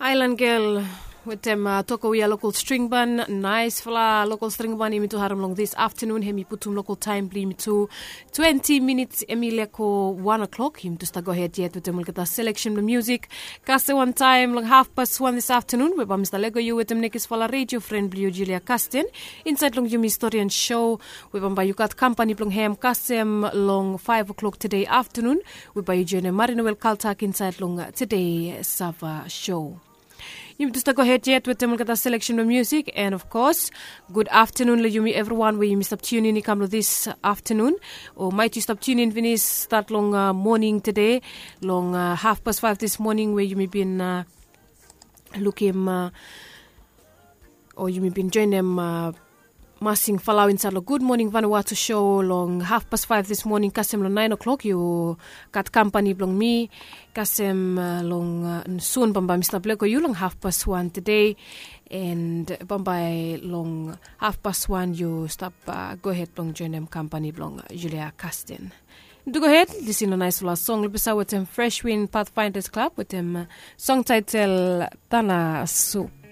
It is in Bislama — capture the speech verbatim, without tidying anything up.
Aelan gel wetem toko we ya lokol stringban, naesfala lokol stringban yumi tu harim long dis aftanun. Hem i putum lokol taem blong yumi tu twenti minits, hem i leko wan o'klok. Yumi tu stap gohed yet wetem olgeta seleksen blong musik. Kasem wantaem long hafpas wan dis aftanun we bae mi stap lego yu wetem nekisfala redio fren blong yu, Julia Kasten, insaed long yumi storian sho we bambae yu gat kampani blong hem kasem long faef o'klok tede aftanun, we bae yu joenem Marinowel Kaltak insaed long tede sava sho. Yumi tu stap gohed yet wetem olgeta seleksen blong musik. And of kos, gud aftanun long yumi evriwan we yumi stap tiunin i kam long dis aftanun, o maet yu stap tiunin finis stat long moning tede, long hafpas faef dis moning we yumi bin lukim o yumi bin joenem masing falaoa insaed long Gud Moning Vanuatu sho long hafpas faef dis moning kasem long naen o'klok. Yu gat kampani blong mi kasem long sun bambae mi stap lego yu long hafpas wan tede. And bambae long hafpas wan yu stap gohed blong joenem kampani blong Julia Kasten. Tu gohed lisin long naesfala song long pesa wetem Fresh Wind Pathfinders Club wetem song taetel Tana Sup.